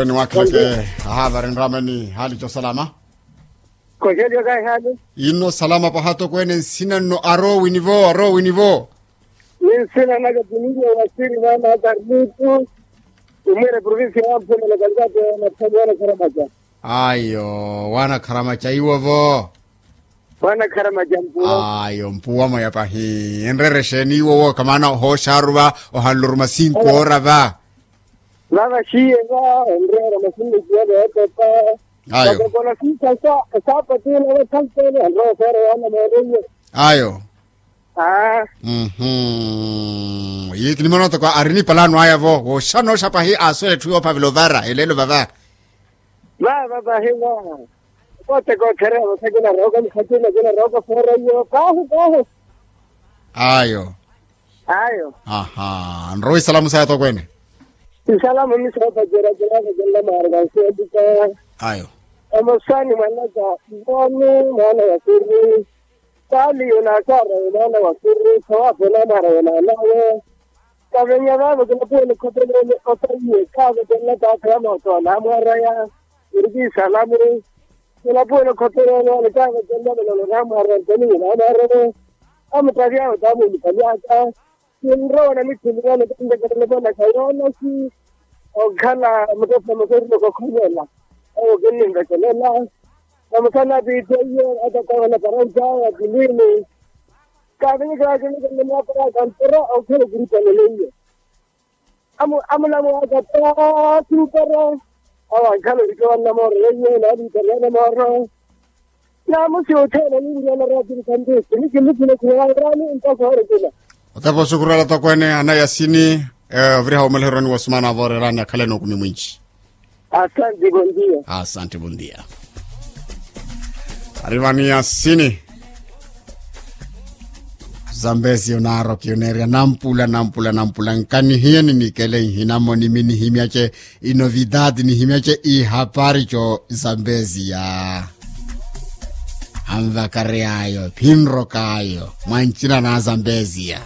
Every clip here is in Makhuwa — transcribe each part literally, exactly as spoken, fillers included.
Ni wakhileke. Aha vari nrameni hali cosalama. Koxeliyo kahi hali. Inno salama paha tokweene nsina nno arowini vo arowini vo. Ni nsina naka tiniyo wasiri mwana akarlitu. Umwire provincia ya mpuna na kalikato na thamwana karamaca. Ayo wana karamaca iwo vo. Wana karamaca mpuwa. Ayo mpuwa mwaya pahi enrerexeni iwo woka maana ohooxaru va ohanluruma sinkoora va. Vava xiye va onreera masinnikiya veepepa. Ayo. Vakokona sisa sa sapatula vasaltene anroosera yana mooriye. Ayo. Aa. Mhm. Yi kinimono toko ari ni palano aya vo woxanooxa pahi aaswela etthu yoophavela ovara eleelo vava. Vava vahi va. Kote kothereya vathakina rooko mukhatina kina rooko foora iyo kahu kahu. Ayo. Ayo. Aha nrowa isalamu saya tokweene. Isalamu misoota ceraceraka cenla maaraka nseetuka. Ayo. Omosani mwanaka ivoni mwana wa siri. Taali yonakaara yonana wa siri sawaapo namara yonanawe. Kavenya vavo kinapuwela okhotolele otaiye kavetenla taata ya mooto namwaraya. Iri kiisalamu. Kinapuwela okhotolele kavetenla velolo namwaraya ntoni namwaraya. Amutavyavo tamuulipanyaka. Kinrowa na mikhuluvano kanvekelela vonaka yoonasi. Okhala mutophula masorilo kokhonyela. Owo kinninvekelela. Vamusana piitteiye atatawala paranjaya kilini. Kavinyikela kinikele mwaparaka mpira okhala okiripaneleye. Amulamwaka ta sintero. Awankhala orikewannamoro yeiye nalitariyana moro. Namusi othene ninriyana ratiri kantisi nikimuthina khulawairani ntasa orikela. Otepa osukurela tokweene anayasini. Oviriha womeleherwani wosumana voorerani akhaleni okumi mwinci. Asanti bondia. Asanti bondia. Arivani asini. Zambezi onaaroki oneerya nampula nampula nampula nkanihiye ninikele nhinamo nimi nihimyace inovidadi nihimyace ihapari co. Zambezi ya anvakary'ayo phinrok'ayo mwancina na zambezi ya.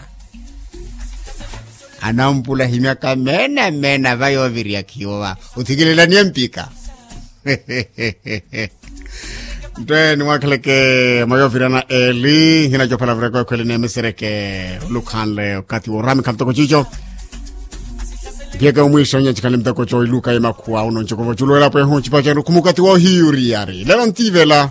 Anampula himyaka meena meena va yoovirya khiwo va othikilelaniye mpika. Nttwe nimwakheleke mwa yooviryana eli nhina cophala vireko ekhweli neemisereke olukhanle okathi woorami khamutoko cico. Mphiyeke omwiixo nyancikhani muteko coiluka emakhuwa uno ncoko voculuwela pwehu ncipacenru khumukati woohiyuriyari lelo ntivela.